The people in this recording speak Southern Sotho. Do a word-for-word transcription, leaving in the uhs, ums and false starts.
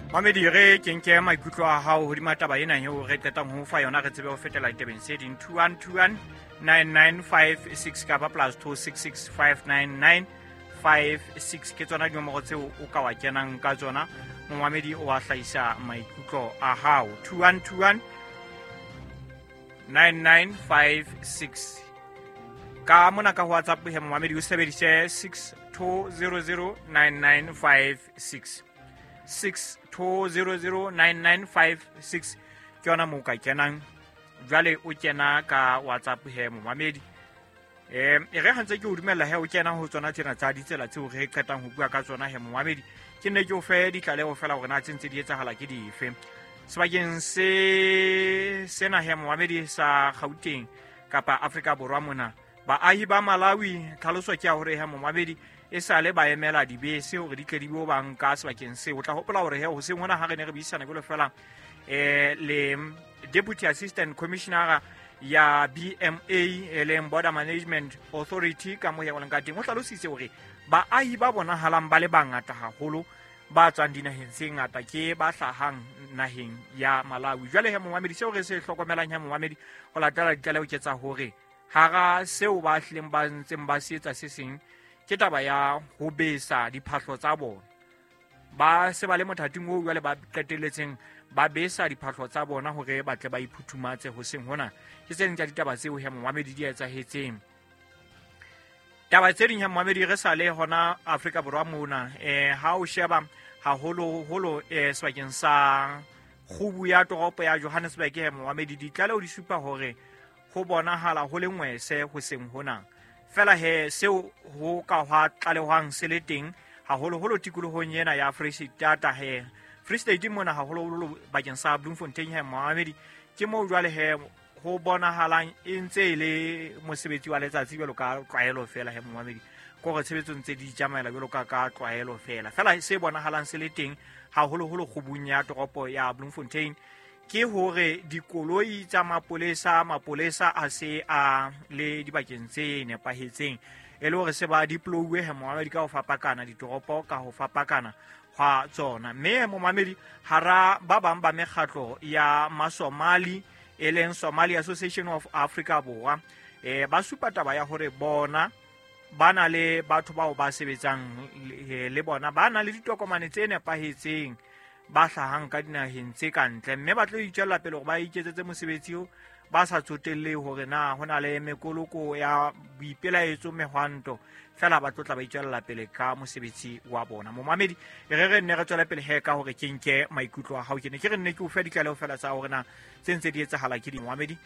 Mamedi, re ke nke maikutlo a hao hodima taba ena eo re qetang ho fa yona, re tsebe ho fetela ditabeng tse ding. Two one two one nine nine five six kapa plus two six six five nine nine five six, ke tsona dinomoro tseo o ka wa kenang ka tsona, momamedi, o wa hlahisa maikutlo a hao. Two one two one nine nine five six. Ka mona ka ho WhatsApp he, momamedi, o sebedise six two zero zero nine nine five six, six two zero zero nine nine five six, ke yona moo ka kenang jwale o kena ka WhatsApp he, momamedi. um e re gantse ke o dumella he o kena ho tsona tsena tsa ditsela tseo re qetang ho bua ka tsona he, momamedi, ke nne ke o fe ditlaleho fela hore na tse ntse di etsahala ke dife sebakeng se sena he, momamedi, sa Gauteng kapa Afrika Borwa mona. Baahi ba Malawi, tlhaloso ke ya hore he, momamedi, e sale ba emela dibese hore di tle di bo ba nka sebakeng seo. O tla hopola hore he hoseng hona ha re ne re buisana jwalo fela um le deputy assistant commissioner ya B M A, e leng Border Management Authority, ka mo ya leng ka teng, o hlalositse hore baahi ba bonahalang ba le bangata haholo ba tswang dinaheng tse ngata ke ba hlahang naheng ya Malawi. Jwale he, momamedi, seo re se hlokomelang he, momamedi, ho latela ditlaleho ke tsa hore hara seo ba hlileng ba ntseng ba se etsa se seng ke taba ya ho besa diphahlo tsa bona. Ba se ba le mothating oo jwale ba qetelletseng ba besa diphahlo tsa bona hore ba tle ba iphuthumatse hoseng hona. Ke tse ding tsa ditaba tseo he, momamedi, di etsahetseng. Taba tse ding he, momamedi, re sa le hona Afrika Borwa mona, um ha o sheba haholoholo um sebakeng sa kgubu ya toropo ya Johannesburg he, momamedi, ditlaleho di supa hore ho bonahala ho le ngwese hoseng hona. Fela he seo ho ka hwa tlalehwang se le teng haholoholo tikolohong ena ya Free State he, Free State mona, haholoholo bakeng sa Bloemfontein he, momamedi, ke moo jwale he ho bonahalang e ntse e le mosebetsi wa letsatsi jwalo ka tlwaelo fela he, momamedi, ke hore tshebetso ntse di tsamaela jwalo ka ka tlwaelo fela. Fela se bonahalang se le teng haholoholo kgubung ya toropo ya Bloemfontein ke hore dikoloi tsa mapolesa, mapolesa a se a le dibakeng tse nepahetseng, e le hore se ba deployuwe he, momamedi, ka ho fapakana ditoropo ka ho fapakana hwa tsona. Mme momamedi, hara ba bang ba mekgatlo ya Masomali, e leng Somali Association of Africa Borwa, eh ba supa taba ya hore bona ba na le batho bao ba sebetsang le bona, ba na le ditokomane tse nepahetseng, ba hlahang ka dinaheng tse ka ntle, mme ba tlo itswella pele hore ba iketsetse mosebetsi o ba sa tsotelle hore na ho na le mekoloko ya boipelaetso, mehwanto, fela ba tlo tla ba itswella pele ka mosebetsi wa bona. Momamedi, e re re nne re tswele pele he ka hore ke nke maikutlo a hao. Ke ne ke re nne ke o fe ditlaleho fela tsa hore na tse ntse di etsahala ke di, momamedi.